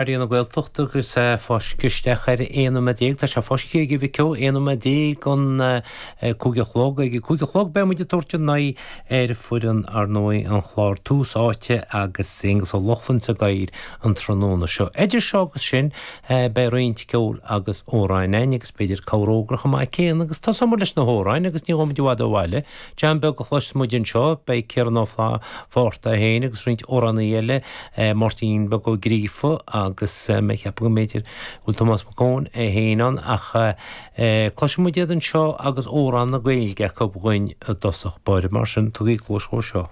Raidió na Gaeltachta agus é fáiscthe isteach ar 11 nóiméad. Tá sé fáiscthe ag Mhic Eo, 11 nóiméad don 5 a chlog. Ag a 5 a chlog beidh muid ag tabhairt an aghaidh ar foireann, ar ndóigh, an chláir Tús Áite agus Aonghus Ó Lochlainn sa gcathaoir an tráthnóna seo. Idir seo agus sin beidh roinnt ceoil agus amhráin againn agus b'fhéidir cabhair fhógra chomh maith céanna agus tosóidh muid leis na hamhráin agus ní ghabhfaidh muid i bhfad ó bhaile. John Beag a chloisfidh muid anseo, beidh Ciarán Ó Fátharta é féin agus roinnt amhránaí eile, Máirtín Beag Ó Gríofa agus mé ag ceapadh go mb'fhéidir go bhfuil Tomás Mac Eoin é féin ann ach cloisfidh muid iad anseo agus amhrán na Gaeilge acu dhuinn i dtosach báire mar sin tugaigí cluas dhó seo.